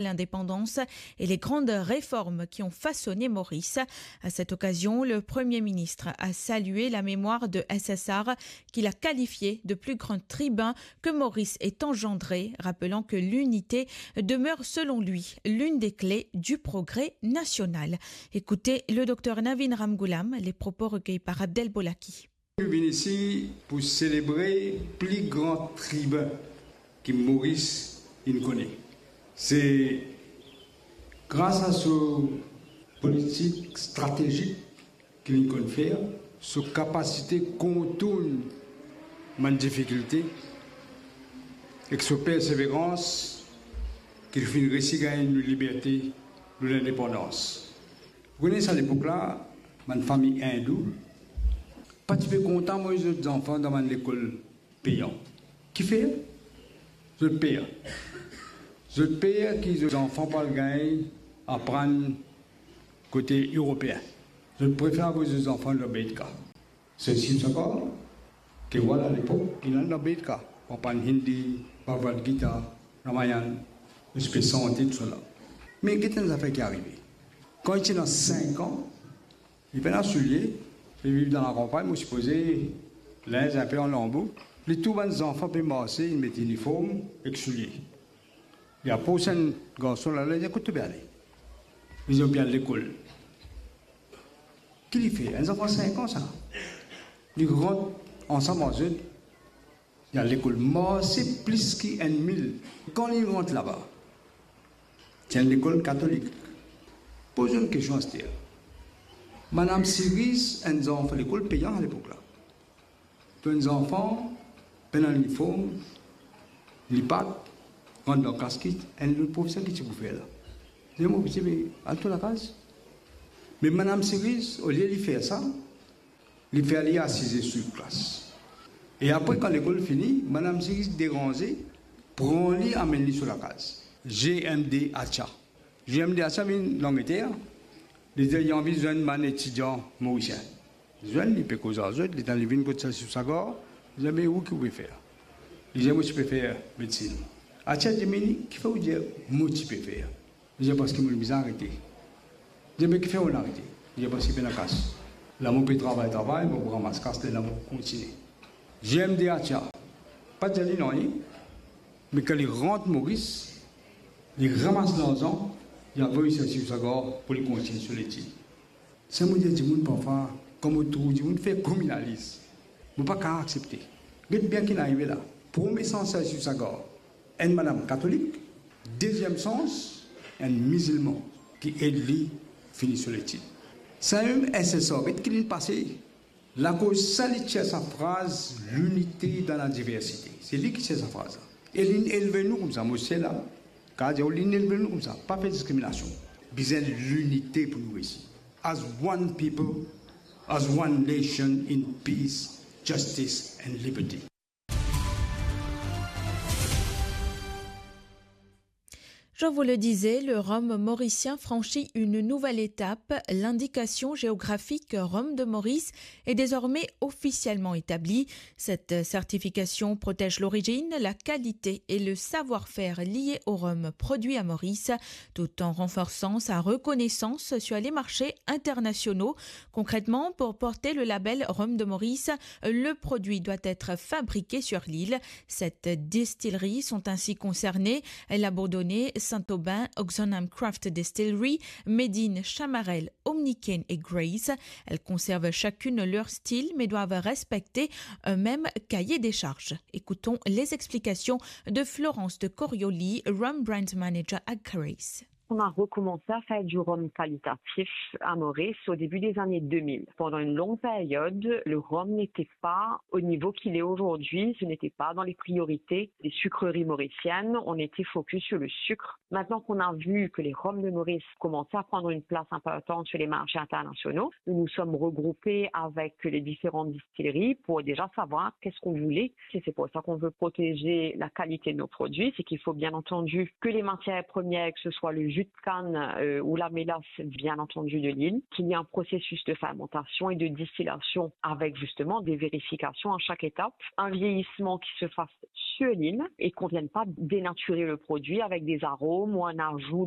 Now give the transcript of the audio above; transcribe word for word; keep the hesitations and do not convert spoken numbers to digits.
l'indépendance et les grandes réformes qui ont façonné Maurice. À cette occasion, le Premier ministre a salué la mémoire de S S R, qu'il a qualifiée de plus grand tribun que Maurice ait engendré, rappelant que l'unité demeure selon lui l'une des clés du progrès national. Écoutez le docteur Navin Ramgoolam, les propos recueillis par Abdel Bolaki. Nou vinn isi pou selebre pli gran tribin ki Moris inn kone. Se gras a so politik stratezik ki li konn fer, so kapasite kontourn bann difikilte, ek so perseverans ki li finn resi gagn nou liberte, nou lindepandans. Ou kone sa lepok la, bann fami indou pa ti pe kontan voy zot zanfan dan bann lekol peyan. Kifer? Zot per. Zot per ki zot zanfan pou al gagn aprann kote Eropeen. Zot prefer avoy zot zanfan dan Beit Ka. Sir Sivasagar, ki rwa lepok, li al dan Beit Ka, pou aprann Hindi, Bhagavad Gita, Ramayan, respek sante, tousala. Me get enn zafer ki arive. Kan li ti ena sink an, li pena soulie, li viv dan lakanpagn, mo sipoze, linz inpe an lanbo. Li trouv bann zanfan pe marse, inn met iniform ek soulie. Li apros enn garson la, li dir, "Kot to pe ale?" Li dir, "Mo pe al lekol." Ki li fer? Enn zanfan sink an sa. Li rant ansam ar zot, li al lekol, marse plis ki enn mil. Kan li rant laba, ti enn lekol katolik. Poz enn kestion aster. Madam Siris, enn zanfan, lekol peyan alepok la. To enn zanfan, pena liniform, lipat, rant dan klas, ki enn lot profeser ki ti pou fer la? Li dir, "Mo piti, me al to lakaz." Me Madam Siris, olie li fer sa, li fer li asize sou klas. E apre, kan lekol fini, Madam Siris deranze, pran li, amenn li so lakaz. G M D Acha. G M D Acha vinn Langleter, li dir li anvi zwenn bann etidian morisien. Zwenn, li pe koz ar zot, letan li vinn kot Sir Sivasagar, li dir, "Me ou ki ou pe fer?" Li dir, "Mo ti pe fer medsinn." Acha dir, "Me kifer ou dir mo ti pe fer?" Li dir, "Parski mo bizin arete." Li dir, "Me kifer ou arete?" Li dir, "Parski pena kas. La mo pe travay, travay, mo pou ramas kas, lerla mo pou kontigne." G M D Acha pa dir li nanye, me kan li rant Moris, li ramas larzan, li avoy Sir Sivasagar pou li kontigne so letid. Sa mo dir dimoun parfwa, kan mo trouv dimoun fer kriminaliz, mo pa kapav aksepte. Get bien ki inn arive la. Premie sans Sir Sivasagar, enn madam katolik, deziem sans, enn mizilman ki ed li fini so letid. Samem S S R, get ki linn pase. Lakoz sa li tir sa fraz, "L'unité dans la diversité." Se li ki tir sa fraz la. E linn elve nou koumsa, mo sel la, kapav dir, linn elve nou koumsa, pa fer diskriminasion. Bizin linite pou nou resi. As one people, as one nation in peace, justice and liberty. Je vous le disais, le rhum mauricien franchit une nouvelle étape. L'indication géographique Rhum de Maurice est désormais officiellement établie. Cette certification protège l'origine, la qualité et le savoir-faire liés au rhum produit à Maurice, tout en renforçant sa reconnaissance sur les marchés internationaux. Concrètement, pour porter le label Rhum de Maurice, le produit doit être fabriqué sur l'île. Sept distilleries sont ainsi concernées, la Bourdonnais, Saint-Aubin, Oxenham Craft Distillery, Médine, Chamarel, Omnikin et Grace. Elles conservent chacune leur style mais doivent respecter un même cahier des charges. Écoutons les explications de Florence de Corioli, Rhum Brand Manager à Grace. On a recommencé à faire du rhum qualitatif à Maurice au début des années deux mille. Pendant une longue période, le rhum n'était pas au niveau qu'il est aujourd'hui, ce n'était pas dans les priorités des sucreries mauriciennes, on était focus sur le sucre. Maintenant qu'on a vu que les rhums de Maurice commençaient à prendre une place importante sur les marchés internationaux, nous nous sommes regroupés avec les différentes distilleries pour déjà savoir qu'est-ce qu'on voulait. Et c'est pour ça qu'on veut protéger la qualité de nos produits, c'est qu'il faut bien entendu que les matières premières, que ce soit le jus, jus de canne euh, ou la mélasse, bien entendu, de l'île, qu'il y a un processus de fermentation et de distillation avec justement des vérifications à chaque étape, un vieillissement qui se fasse sur l'île et qu'on ne vienne pas dénaturer le produit avec des arômes ou un ajout